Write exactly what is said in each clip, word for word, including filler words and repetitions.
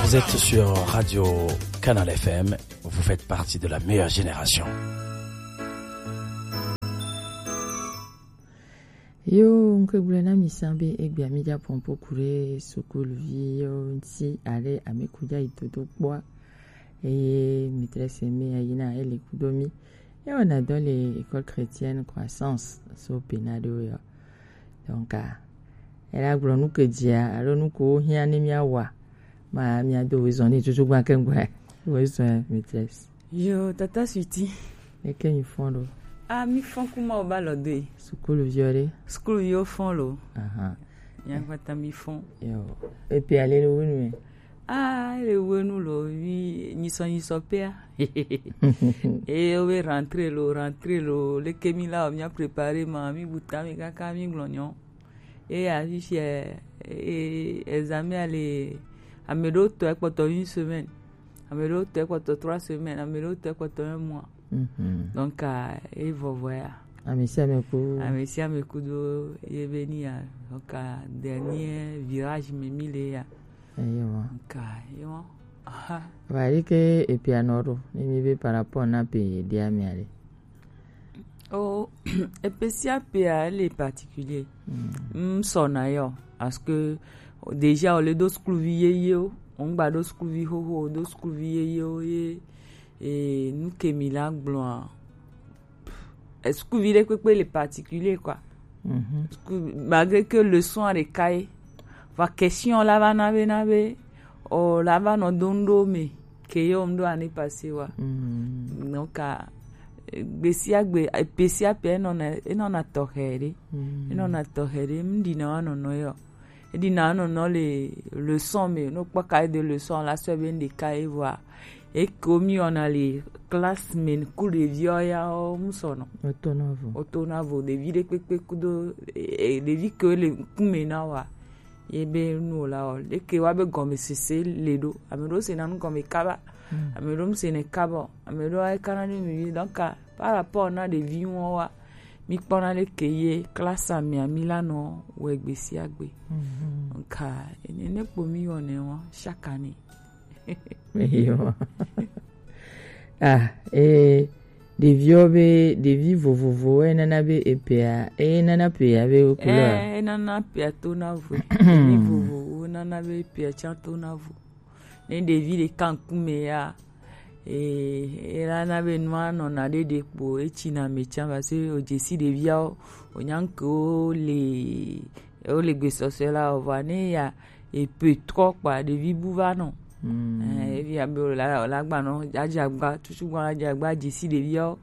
Vous êtes sur Radio Canal F M, vous faites partie de la meilleure génération. Yo, ŋke gblɔe na mi sã be egbea mi dza pɔnpo ku ɖe sukuluvi yo ŋuti ale ame ku dza yi dodo kpɔa. Eye maîtresse mi ya yina ele kudo mi. Ye wɔna dɔ le école chrétienne Croissance so Bena ɖo yo. Donc, ah, ela gblɔ nu ke dzia, alo nu ko hiã ne mia wa. Ma mia do wezɔn ni tutu gba ke ŋgɔe. Wezɔn maîtresse. Yo, tata Sweety. Eke mi fɔn ɖo. Ah, mi fɔn ku ma o ba lɔ do yi. Sukuluvi ɖe. Sukuluviwo fɔn lo. Aha. Mia gbata mi fɔn. Yo. Epe ale le wenu me. Ah, le wenu lo, mi nyisɔ nyisɔ pea. E o be rentrée lo, rentrée lo, leke mi la o, mia préparer ma, mi buta mi kaka mi gblɔ nyɔ. Eya fifia, e, examen a le, ame ɖewo tɔ ekpɔtɔ une semaine, ame ɖewo tɔ ekpɔtɔ trois semaines, ame ɖewo tɔ ekpɔtɔ un mois. Mhm. Donc, ah, e vɔvɔ ya. Ame sia ame ku. Ame sia ame ku do ye be ni ya. Donc, ah, dernier virage me mi le ya. Eyo. Donc, ah, eyo. Aha. Va yi ke epia nɔ ɖo, ne mi be par rapport na pe ye dia mi ale. Oh, epe sia pea, elle est particulier. Mm. M sɔna yo, parce que déjà, o le do sukuluvi yeyewo, o ŋgba do sukuluvi xoxo, o do sukuluvi yeyewo ye, e, nu ke mi la gblɔa, e, sukuluvi ɖe kpekpe le particulier, quoi. Mhm. Suku-, malgré que leçon a ɖeka ye, va question la va na be, na be, o la va nɔ do ŋɖo me, ke yo ŋɖo année passée wa. Mm. Donc, ah, gbe sia gbe, epe sia pe enɔna, enɔna tɔxɛ ɖe. Mm. Enɔna tɔxɛ ɖe, m ɖina wa nɔnɔ yo. E ɖina wa nɔnɔ le leçon me, no kpɔ cahier de leçon la sɔ be ŋɖeka ye vɔa. Eko mi wɔna le classe me ku ɖeviwo ya o, m sɔnɔ. Otona vo. Otona vo, ɖevi ɖe kpekpe kudo, e, e, ɖevi ke le ŋkume na wa. Ye be nu o la o, leke wa be gɔmesese le ɖo. Ame ɖewo sena nu gɔme kaba. Mm. Ame ɖewo m sena kaba o. Ame ɖewo a kana ɖe mi vi. Donc, ah, par rapport na ɖevi ŋua wa, mi kpɔna leke ye classe a mea mi la nɔ wɛ gbe sia gbe. Mhm. Donc, ah, ene ne kpo mi wɔnɛ wa chaque année. Eyo. Ah, eh, ɖeviwo be, ɖevi vovovowo enana be epea, enana pea be couleur. Eh, enana pea tona vo. Ɖevi vovovowo nana be epea tsã tona vo. Ne ɖevi ɖeka ŋkume ya, eh, elana be nua nɔna ɖeɖe kpo, etsina me tsã, parce que o dzesi ɖeviawo, o nya ŋkewo le, o le gbesɔsɔ la, o va ne ya, e peut trop kpa, ɖevi bu va nɔ. Mm. Eh, evi abe o la, o la gba nɔ, adzagba, tutu gba adzagba, dzesi ɖeviawo.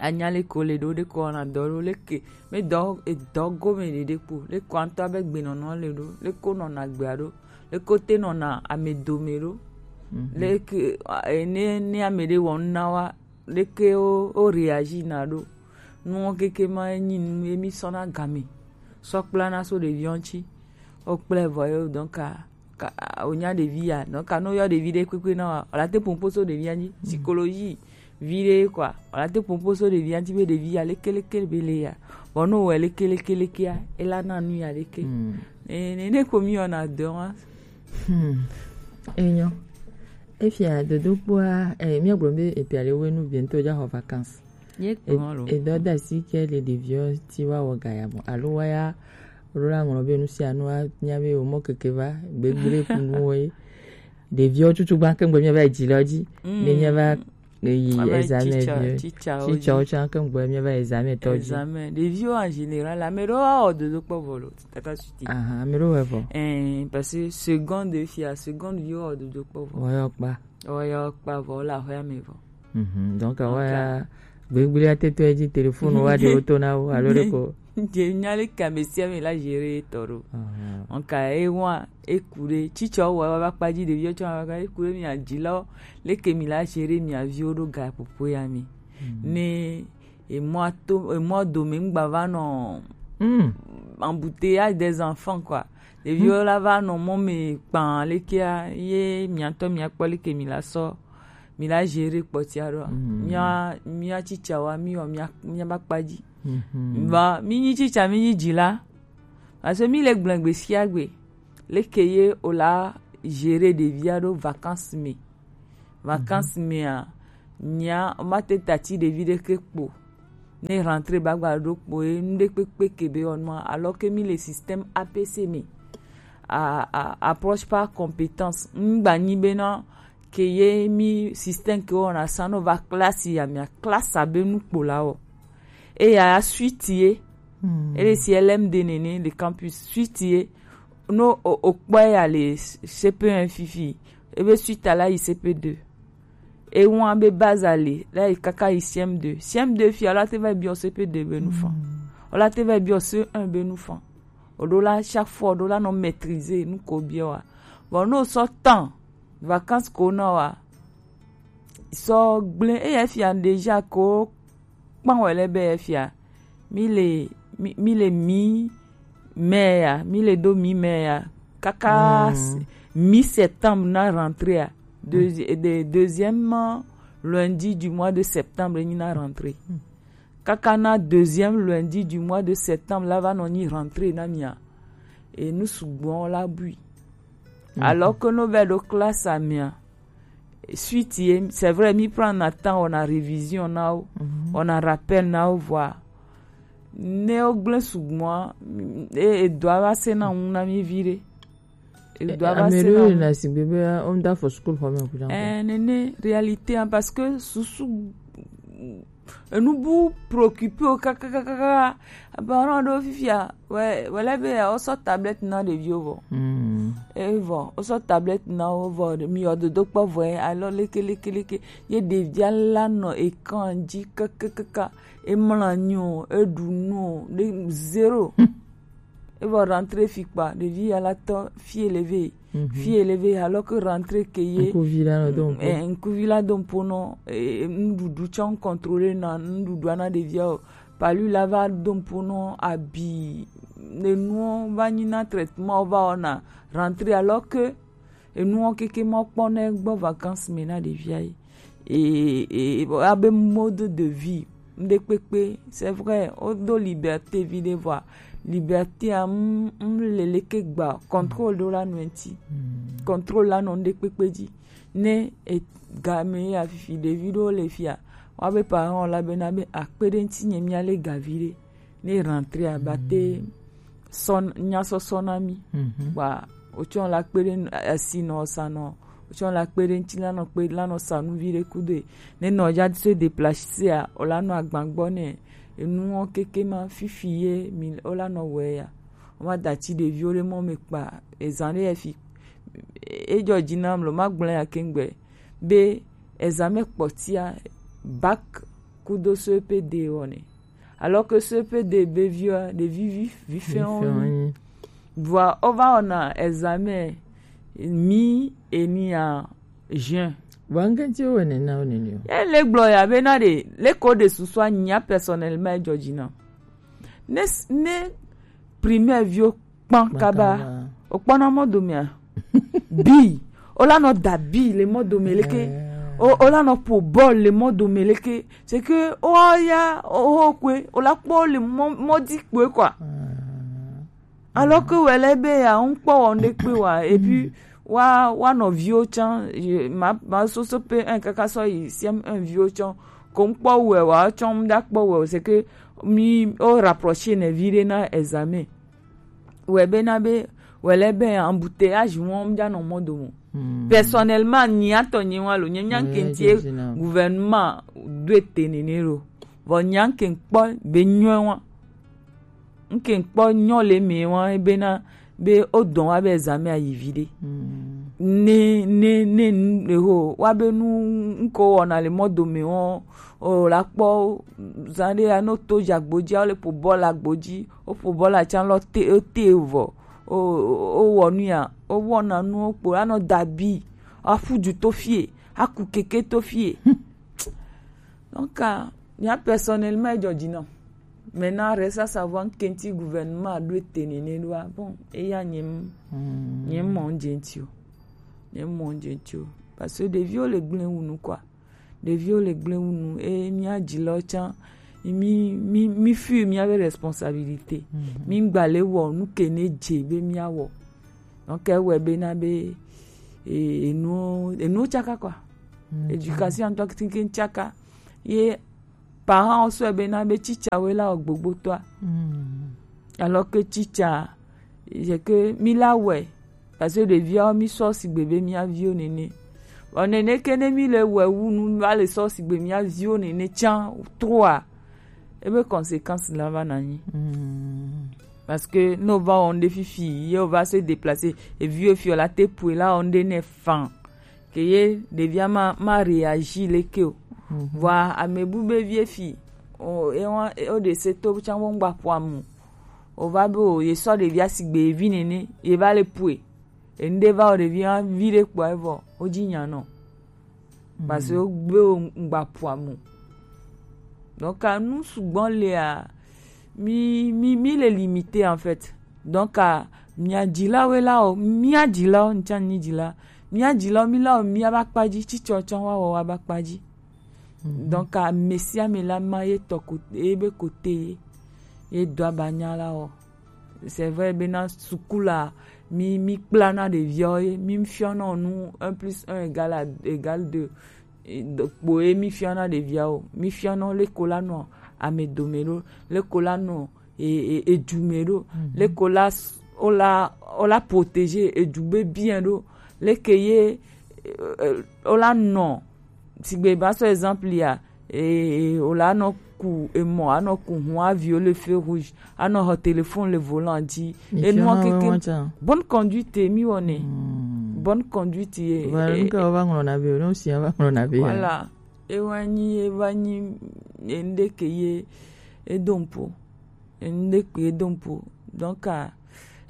Anya leke wole ɖo, leke wowɔna dɔ ɖo, leke, me dɔ, edɔ gome ɖeɖe kpo, leke wo ŋutɔ be gbenɔnɔ le ɖo, leke wonɔna gbea ɖo, leke wote nɔna ame dome ɖo, mhm, leke, eh, ne, ne ame ɖe wɔ nu na wa, leke wo, wo réagir na ɖo. Nuwo keke ma enyi nu ye mi sɔna game sɔ kplana so ɖeviwo ŋuti. Wo kplɛ vɔ ye, donc, ah, ka, wonya ɖevi ya, nɔ ka nɔ yɔ ɖevi ɖe kpekpe na wa, wòla te popo so ɖevia dzi, mm, psychologie vi ɖe quoi, wòla te popo so ɖevia dzi be ɖevi ya leke leke be le ya, vɔ no wɛ leke leke leke ya, ela na nu ya leke. Mm. Ne, ne, ne ko mi yɔ na dɔ wa. Hmm. Enyo. Efia dodo kpoa, eh, mi agblɔ be epia le wenu bientôt ja xɔ vacances. Ye kpɔ lo. Edɔ da si ke le ɖeviwo ti wa wɔ gaya mɔ. Alo wa ya, alo la ŋlɔ be nu sia nu wa nya be o mɔ keke va, gbegble ku nu wo ye. Ɖeviwo tutu gba ke ŋgbe mi va dzi lɔ dzi. Mm. Ne mi va yi examen teacher, vie. Teacher wo tsã ke ŋgbe mi va examen tɔ dzi. Examen. Ɖeviwo en général, ame ɖewo wa wɔ dodo kpɔ vɔ lo, tata suti. Aha, ame ɖewo wɔ vɔ. Eh, parce que seconde fia, seconde viwo wɔ dodo kpɔ vɔ. Wɔyɔ kpa. Wɔyɔ kpa vɔ, la xɔ ame vɔ. Mhm, donc, donc, wa ya, gbegblea te to edzi, téléphone wa ɖe wo to na wo, alo ɖe ko. Je nya le ka me sia me la gérer tɔ ɖo. Aha. Donc, e wa, e ku ɖe, tsitsɔ wa, wa va kpa dzi, ɖeviwo tsɔ wa va, e ku ɖe mi adzi lɔ, leke mi la gérer mi aviwo ɖo ga popo ya mi. Mhm. Ne, e mɔ to, e mɔ dome ŋgba va nɔ, mm, embouteillage des enfants, quoi. Ɖeviwo la va nɔ mɔ me kpã lekea, ye miatɔ miakpɔ leke mi la sɔ, mi la gérer kpɔtia ɖoa. Mm. Mia, mia tsitsawoa, mi wɔ mia, mia ba kpa dzi. Mhm. Vɔ, mi nyi tsitsa, mi nyi dzila. Parce que mi le gblẽ gbe sia gbe. Leke ye o la, gérer ɖevia ɖo vacances me. Vacances mea, nya ma te tati ɖevi ɖeke kpo. Ne rentrée ba gba ɖo kpo ye, nu ɖe kpekpe ke be wɔnua, alors que mi le système A P C me. A, a, approche par compétence. Ŋgba nyi bena ke ye mi système ke wɔna sa no va classe ya mea classe abe nu kpo la wɔ. Eya suite ye. Ele si L M D nene le campus suite ye. No o, o kpɔ ya le C P un fifi. Ebe suite a la yi C P deux. Ewan be base ale la yi kaka yi C M deux. C M deux fia la te va biɔ C P deux be nu fan. O la te va biɔ C un be nu fan. O ɖo la chaque fois o ɖo la nɔ maîtriser nu ko biɔ wa. Bon, no sɔ temps vacances ko na wa. Sɔ gblẽ eya fia déjà ko kpan wɛ lɛ be fia. Mi le mi, mi le mi mai ya, mi le do mi mai ya. Kaka s- mi septembre na rentrée ya. Deuxi- de- deuxième lundi du mois de septembre ni na rentrée. Kaka na deuxième lundi du mois de septembre la va nɔ nyi rentrée na mia. Et nous sugbɔ la bui. Alors que no vɛ ɖo classe a mia. Suite ye, c'est vrai, mi prend na temps, on a révision na o, on a rappel na o, voilà. Ne o gblẽ sugbɔ, e, e doit va se na ŋu na mi vi ɖe. E doit va se na ŋu. Na sigbe be o da fo school xɔ me kuda. Eh, nene, réalité, hein, parce que susu enu bu préoccupé o kakakaka. Parent ɖewo fifia wɛ wɛ lɛ be ya wosɔ tablette na ɖeviwo vɔ. Evɔ wosɔ tablette na wo vɔ, mi yɔ dodo kpɔ vɔ ye alɔ leke leke leke ye ɖevia la nɔ écran dzi kakakaka. Emlɔ anyi o, eɖu nu o, ɖe zéro. Evɔ rentrée fi kpa ɖevi ya la tɔ fie le ve. Fie le ve, alors que rentrée ke ye. Ŋkuvi la nɔ do ŋku. Eh, ŋkuvi la do ŋpo nɔ, eh, nuɖuɖu tsɔ contrôler na nuɖuɖua na ɖevia o. Palu la va do ŋpo nɔ abi, enuwo va nyi na traitement va wɔna rentrée, alors que enuwo keke ma kpɔ ne gbɔ vacances me na ɖevia ye. E, e, e, abe mode de vie, ŋɖe kpekpe, c'est vrai, wodo liberté vi ɖe vɔa, liberté a, m, m le leke gba, contrôle ɖo la nɔ ŋti. Contrôle la nɔ ŋɖe kpekpe dzi. Ne e game ya fifi ɖevi ɖewo le fia, woabe parent la bena be akpe ɖe ŋti nye mia le ga vi ɖe. Ne rentrée a ba te sɔ nya sɔsɔ na mi. Ba o tsɔ la kpe ɖe asi nɔ sa nɔ, o tsɔ la kpe ɖe ŋti la nɔ kpe la nɔ sa nu vi ɖe kudo e. Ne nɔ ja se déplacer a, o la nɔ agban gbɔ nɛ. Enuwo keke ma fifi ye mi o la nɔ wɛ ya. O ma da ci ɖeviwo ɖe mɔ me kpa ezan ɖe ya fi. E jɔ dzi nam lo ma gblẽ ya kengbe be ezan me kpɔtia bac kudo C P D wɔ nɛ. Alors que C P D be viwa ɖevi vi vi fɛn wo nyi. Vɔa o va wɔna examen mi eni a juin. Vɔa ŋkɛntsi wo wɛ nɛna wo nɛni o. Ye le gblɔ ya be na ɖe le ko ɖe susua nya personnellement e jɔ dzi na. Ne s- ne primaire viwo kpan kaba. O kpɔna mɔ domea. Bi o la nɔ da bi le mɔ dome leke. O o la nɔ po bɔl le mɔ dome leke. C'est que o ya o o kwe o la kpɔ le mɔ mɔ di kwe quoi. Alors que wɛlɛ be ya ŋkpɔ wɔ ne kpe wa et puis wa wa nɔ viwo tsã ma ma soso pe un kaka sɔ yi C M un viwo tsã ko ŋkpɔ wɛ wa tsã ŋda kpɔ wɛ c'est que mi o rapprocher ne vi ɖe na examen. Wɛ be na be wɛlɛ be embouteillage wɔm dza nɔ mɔ dome. Personnellement nya tɔ nye wa lo nye nya ŋkɛntsi gouvernement do ete nene lo. Vɔ nya ŋkɛ ŋkpɔ be nyɔ wa. Ŋkɛ ŋkpɔ nyɔ le me wa bena be o dɔn wa be examen ayi vi ɖe. Ne ne ne nu ho wa be nu ŋkɔ wɔna le mɔ dome wɔn o la kpɔ zan ɖe ya no to dzi agbo dzi o le po bɔl agbo dzi o po bɔl atsa lɔ te o te vɔ o o wɔ nu ya o wɔna nu o kpo anɔ dabi aƒu du to fie aku keke to fie. Donc ah, nya personnellement e jɔ dzi nɔ. Maintenant reste à savoir ŋkɛntsi gouvernement do ete nene ɖoa bon eya nye m nye m mɔ ŋdze ŋti o. Nye m mɔ ŋdze ŋti o. Parce que ɖeviwo le gblẽ wu nu quoi. Ɖeviwo le gblẽ wu nu eye mía dzilawo tsã mi mi mi feel míabe responsabilité. Mi ŋgba le wɔ nu ke ne dze be mía wɔ. Donc ewɔe be na be e- enu enu tsaka quoi. Éducation ŋutɔ keŋkeŋ tsaka. Ye parent wo sɔe bena be tsitsa woe la wɔ gbogbotɔa. Alors que tsitsa, c'est que mi la wɛ, parce que ɖeviawo mi sɔ sigbe be mia viwo nene. Bon, nene ke ne mi le wɛ wu nu va le sɔ sigbe mia viwo nene tsã trois, ebe conséquence la va na nyi. Parce que ne o va wɔ ŋɖe fifi ye o va se déplacer, eviwo fi o la te pue la wɔ ŋɖe ne fan. Ke ye ɖevia ma ma réagir leke o. Vɔa ame bu be vie fi o e wa o de se to tsã wo ŋgba ƒo amu. O va be o ye sɔ ɖevia sigbe ye vi nene ye va le pue. Enu ɖe va o ɖevia vi ɖe kpɔ evɔ o dzi nya nɔ. Parce que o gbe o ŋgba ƒo amu. Donc anu sugbɔ lea mi mi mi le limité en fait. Donc mia dzilawoe la o mia dzilawo ŋtsa nyi dzila mia dzilawo mi la o mia ba kpa dzi tsitsɔ tsɔ wa wɔ wa ba kpa dzi. Donc ame sia ame la ma ye tɔ ko ye be kote ye ye do aba nya la o. C'est vrai bena suku la mi mi kpla na ɖeviawo ye mi fiɔ nɔ nu un plus un égal à égal deux. Kpo ye mi fiɔ na ɖeviawo mi fiɔ nɔ leko la nɔ ame dome ɖo leko la nɔ e- e- edu me ɖo leko la s- o la o la protéger edu be bien ɖo leke ye e- e- o la nɔ sigbe ba sɔ exemple ya e- e- o la nɔ ku emɔ anɔ ku hun aviwo le feu rouge anɔ xɔ téléphone le volant dzi enua keke bonne conduite mi wɔnɛ bonne conduite ye Voilà, e- ŋke wova ŋlɔna be ne wosia va ŋlɔna be voilà ewa nyi eva nyi enu ɖe ke ye edo ŋpo enu ɖe ke edo ŋpo donc ah,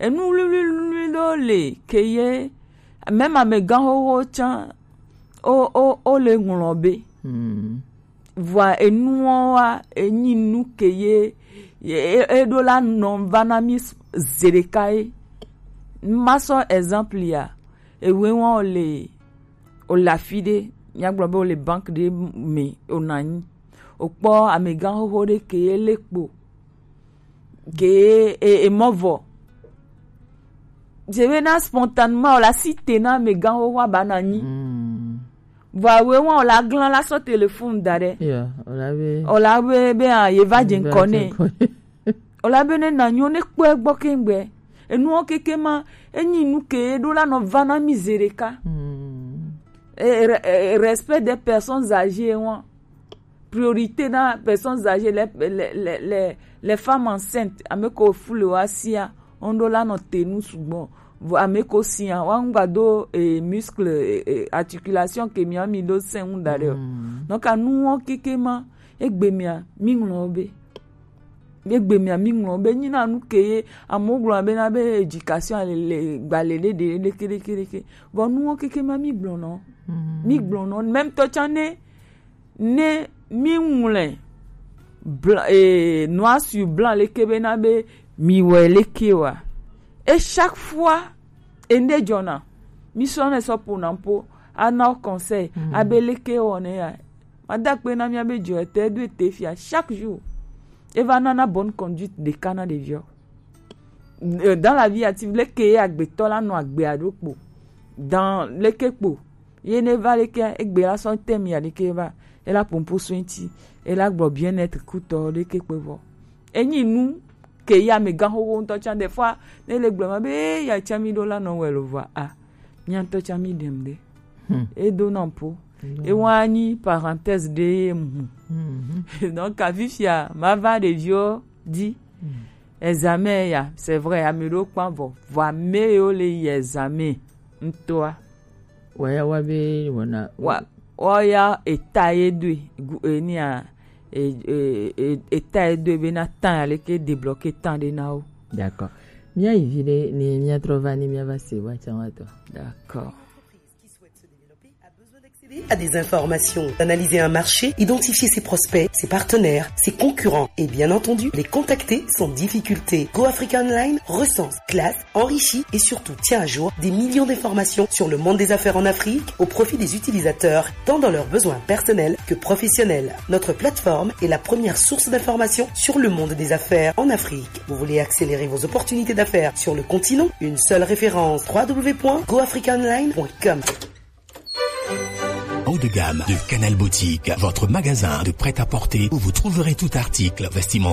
enu wluiwlui ɖewo le ke ye même amegã xoxo tsã o o o le ŋlɔ be vɔa enuwo wa enyi nu ke ye ye- e- eɖo la nɔ va na mi s- zeɖeka ye ma sɔ exemple ya ewe wa o le o le afi ɖe míagblɔ be o le banque ɖe me o nɔ anyi o kpɔ amegã xoxo ɖe ke ye le kpo ke e e mɔ vɔ je be na spontanément o la si te na amegã xoxo aba na anyi vɔ awe wa o la glan la sɔ téléphone da ɖe Yeah, wala be o la be be ah ye va dze ŋkɔ nɛ o la be ne na nyo ne kpɔ egbɔ kengbe enuwo keke ma enyi nu ke ɖo la nɔ va na mi ze ɖeka e, re- e, respect des personnes âgées wa priorité na personnes âgées les les les les, les femmes enceintes ame ko fu le wa sia on ɖo la nɔ te nu sugbɔ vɔ ame ko sia wa ŋgba do e, muscle e, e, articulation ke mi ami ɖo sɛn ŋu da ɖe o donc anuwo keke ma egbe mia mi ŋlɔ be egbe mia mi ŋlɔ be nyina nu ke ye amewo gblɔ be na be éducation le le gbalẽ ɖe ɖe ɖeke ɖeke ɖeke vɔ nuwo keke ma mi gblɔ nɔ mi gblɔ nɔ même tɔ tsã ne ne mi ŋlɔe blanc eh, noir sur blanc leke be na be mi wɔ leke wa et chaque fois ende dzɔna mi sɔ ne sɔ ƒona ƒo ana conseil abe leke wɔ ne ya mada kpe na mia be dzɔ ete do ete fia chaque jour eva nana bonne conduite ɖeka na ɖeviɔ dans la vie active leke ye agbetɔ la nɔ agbea ɖo kpo dans leke kpo ye ne va leke egbe la sɔ tɛmi aɖeke va ela pompo so ŋti ela gblɔ bien net kutɔ ɖeke kpe vɔ enyi nu ke ya me gan xoxo ŋutɔ tsã des fois ne le gblɔ ma be ya tsã mi ɖo la nɔ wɛ lo vɔ a mia ŋutɔ tsã mi ɖem ɖe edo na ƒo ewa nyi parenthèse ɖe ye mu donc afifia ma va ɖeviwo di examen ya c'est vrai ame ɖewo kpa vɔ vɔ ame yiwo le yi examen ŋutɔa Waya wa be wɔna wa waya eta ye doe gu enia e e e eta ye doe be na tan ya leke débloquer tan ɖe na wo. D'accord. Mía yi vi ɖe ni mía trɔ va ni mía va se wa tsa wa tɔ. D'accord. à des informations, d'analyser un marché, identifier ses prospects, ses partenaires, ses concurrents et bien entendu les contacter sans difficulté. Go Africa Online recense, classe, enrichit et surtout tient à jour des millions d'informations sur le monde des affaires en Afrique au profit des utilisateurs, tant dans leurs besoins personnels que professionnels. Notre plateforme est la première source d'informations sur le monde des affaires en Afrique. Vous voulez accélérer vos opportunités d'affaires sur le continent ? Une seule référence, w w w point go africa online point com. Haut de gamme de Canal Boutique, votre magasin de prêt-à-porter où vous trouverez tout article, vestimentaire,